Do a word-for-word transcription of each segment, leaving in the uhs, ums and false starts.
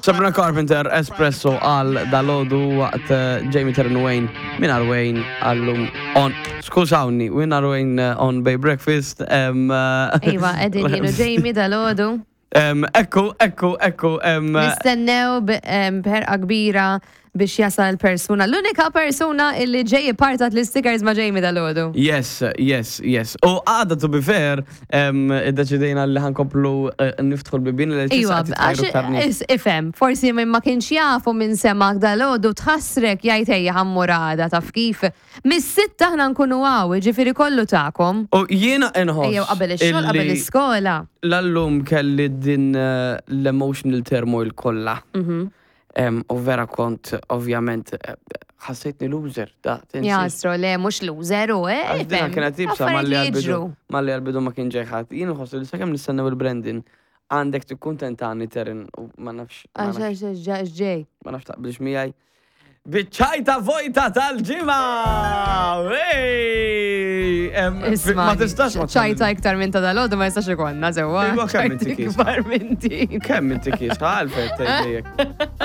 Sabrina Carpenter, Espresso għal dalgħodu waqt eh, Jamie Terran Wayne, minn Wayne għallum on, skużawni, minn Wayne eh, on Bay Breakfast. em, eh, Iva, edin jienu Jamie dalgħodu. em, Ekku, ekku, ekku. em, Nistennew b- em, b'ħerqa kbira biex jasal persuna. L-unika persuna illi ġej partat l-stickers ma' Jamie dalgħodu. Yes, yes, yes. U għada, to be fair, em, iddeċidejna li ħa nkomplu eh, niftħu l-bibien li Iwa, għax is- ifhem, forsi minn ma kienx jafu minn semak dalgħodu tħassrek jgħid ejja ħa mmur għada taf kif. Mis-sitta aħna nkunu hawn, ġifieri kollu tagħkom. U jiena inħoss. Ejjew qabel ix-xogħol, qabel illi l-iskola. L-allum kelli din eh, l-emotional turmoil kollha. Mhm. Em, U vera kont, ovvjament, eh, ħassejtni loser. Da, tinsi. Jastro, le, mhux loser u, eh, Għax dina ifhem, kienet ibsa affarijiet malli li għal-bidu. jiġru. Malli għal-bidu ma kien ġejħat. Jien nħossu li sakemm nistennew il-Brandon, għandek tikkuntentani Terin u ma nafx. ma Għax nafx- għax għax ġej. Ma nafx taqbilx miegħi. Biċ-ċajta vojta tal-ġimgħa! Ej! Em, Isma, Ma tistax ma ċajta iktar minn ta' dalgħodu ma jistax ikollna sewwa. Iva, kemm inti ċajta kiesħa? ikbar minn din. Kemm inti kiesħa? Għalfejn qed tgħidli hekk.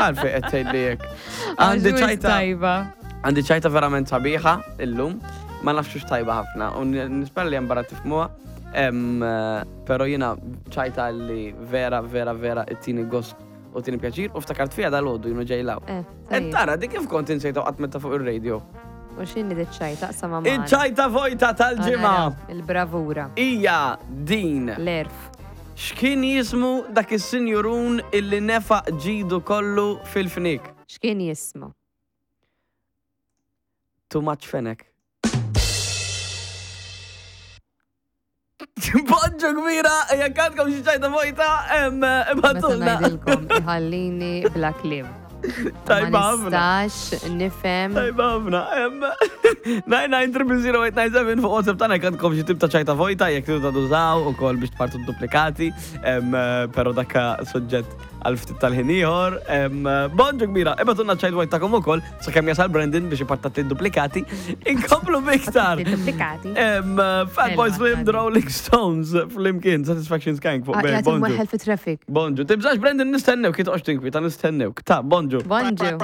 Għalfejn qed tgħidli hekk. Għandi Għax ċajta tajba. Għandi ċajta verament sabiħa illum, ma nafx hux tajba ħafna, u nispera li hemm barra tifhmuha, em, eh, pero jiena ċajta li vera, vera, vera ittini gost u tini pjaċir, u ftakart fija dalgħodu jienu ġej 'l hawn. Eh, Et tajjeb. tara, di kif kont insejta qatt metta fuq il-radio. U x'inhi di ċajta sama ma. Iċ-ċajta vojta tal-ġimgħa Il-bravura. hija din. L-erf. X'kien jismu dak is-sinjurun illi nefaq ġidu kollu fil-fnik? X'kien jismu? Too much fenek. Bonġu kbira, jekk għandkom xi ċajta vojta, em, Meta ibgħatulna. ngħidilkom iħallini bla kliem. Tajba Ma ħafna. nistax nifhem. Tajba ħafna. em, nine nine zero zero eight nine seven fuq WhatsApp tagħna jekk għandkom xi tip ta' ċajta vojta, jekk tridu tużaw ukoll biex tpartu duplikati, em, però dakka suġġett għal ftit tal-ħin ieħor. Em, Bonġu kbira, ibgħatulna ċajt vojta tagħkom ukoll sakemm jasal Brandon biex ipartat duplikati. Inkomplu biktar. Duplikati. Em, Fatboy Elma, Slim, The għadi. Rolling Stones, flimkien, Satisfaction Skank fuq Bay. Jgħat Bonġu. imweħel fi traffic. Bonġu. Tibżax Brandon nistennew, kif toqgħodx tinkwieta nistennew. Ta' bonġu. Bonġu.